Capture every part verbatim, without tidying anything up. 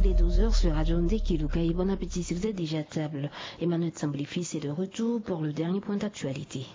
Il est douze heures sur Radio Ndekeluka et bon appétit si vous êtes déjà à table. Emmanuel Tsamboulifi, c'est de retour pour le dernier point d'actualité.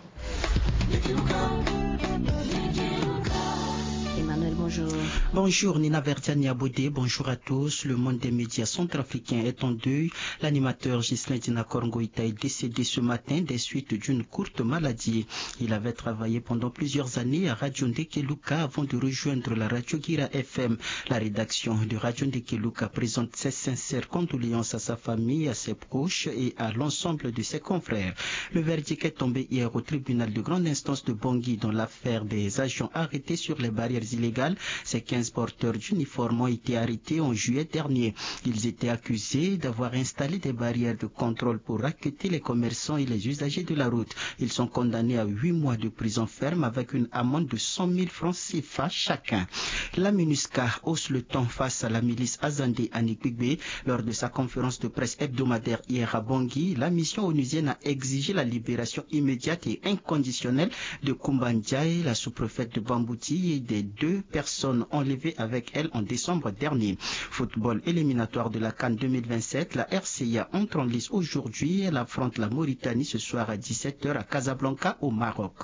Emmanuel, bonjour. Bonjour Nina Verdiani Abodé, bonjour à tous. Le monde des médias centrafricains est en deuil. L'animateur Ghislain Dina Korongo Ita est décédé ce matin des suites d'une courte maladie. Il avait travaillé pendant plusieurs années à Radio Ndekeluka avant de rejoindre la Radio Guira F M. La rédaction de Radio Ndekeluka présente ses sincères condoléances à sa famille, à ses proches et à l'ensemble de ses confrères. Le verdict est tombé hier au tribunal de grande instance de Bangui dans l'affaire des agents arrêtés sur les barrières illégales. Ces quinze porteurs d'uniformes ont été arrêtés en juillet dernier. Ils étaient accusés d'avoir installé des barrières de contrôle pour racketter les commerçants et les usagers de la route. Ils sont condamnés à huit mois de prison ferme avec une amende de cent mille francs C F A chacun. La MINUSCA hausse le ton face à la milice Azande à Nigbigbe. Lors de sa conférence de presse hebdomadaire hier à Bangui, la mission onusienne a exigé la libération immédiate et inconditionnelle de Kumba Ndiaye, la sous-préfète de Bambouti, et des deux personnes enlevées avec elle en décembre dernier. Football, éliminatoire de la CAN deux mille vingt-sept, la R C A entre en lice aujourd'hui. Elle affronte la Mauritanie ce soir à dix-sept heures à Casablanca au Maroc.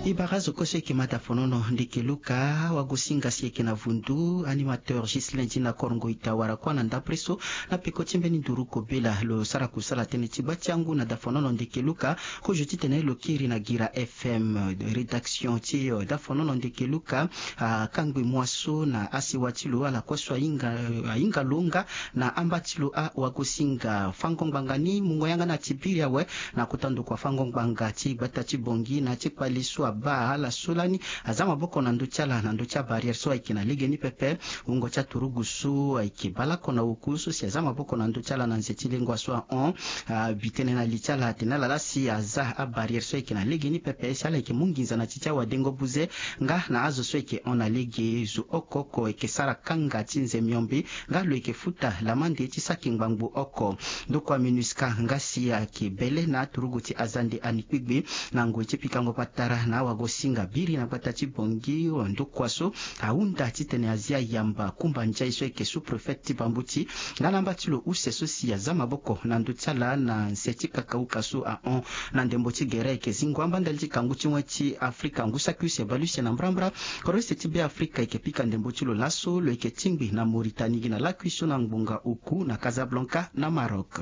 E bara azo kue so e yeke ma dafonono Ndekeluka, wagosinga si e yeke na vundu, animateur Ghislain Dina Korongo Ita wara kuâ na ndapre so na peko ti mbeni nduru kobela. Lo sara kusala tënë ti gba ti angu na dafonono Ndekeluka, kozo titene lo kiri na Guira F M. Rédaction ti, euh, dafonono Ndekeluka akangbi moi so na asiwa ti lo, ala kue so ahinga, ahinga lo nga na amba ti lo awagosinga. Fango ngbanga ni mungo yanga na ti biri awe na kota ndokua fango ngbanga ti gbata ti Bangui na ti kpali so abaa ala so lani aza maboko na ndö ti ala na ndö ti abarrière so ayeke na legeni pepe. Wungo ti aturugu so ayeke bale oko na oku so si aza maboko na ndö ti ala na nze ti lengua so ahon, abi tënë na li ti ala atene ala laa si aza abarrière so ayeke na legeni pepe si ala yeke mu nginza na ti ti awadengo buze nga na azo so ayeke hon na lege. Zo oko oko ayeke sara kanga ti nze miombe nga lo yeke futa lamande ti saki ngbangbo oko. Ndokua MINUSCA nga si ayeke bele na aturugu ti Azande Anikpigbe na ngoi ti pikango patara na awagosinga biri na gbata ti Bangui. Ndokua so ahunda titene azia yamba Kumba Ndiaye so ayeke sous-préfet ti Bambuti nga na amba ti lo use so si aza maboko na ndö ti ala na nse ti kakauka so ahon na ndembo ti gere ayeke zingo amba ndali ti kangu ti wen ti Afrika. Ngu saki use bale use na mbrambra, kodro use ti Beafrika ayeke pika ndembo ti lo laso, lo yeke tingbi na Mauritanie gi na lakui so na ngbonga oku na Casablanca na Maroc.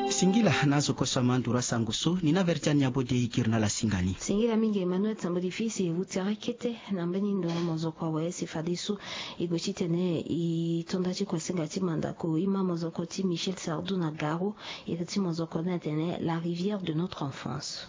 Singila na azo kue so ama nduru asango so, Nina Verdiane Abode e kiri na ala singa ni. Singila mingi Emmanuel Tambodi fils, e huti arakete na mbeni ndo mozoko awe si fadeso e gue titene e to nda ti kuasinga ti mandako e ma mozoko ti Michel Sardou na Garo, e gue ti mozoko ni atene La rivière de notre enfance.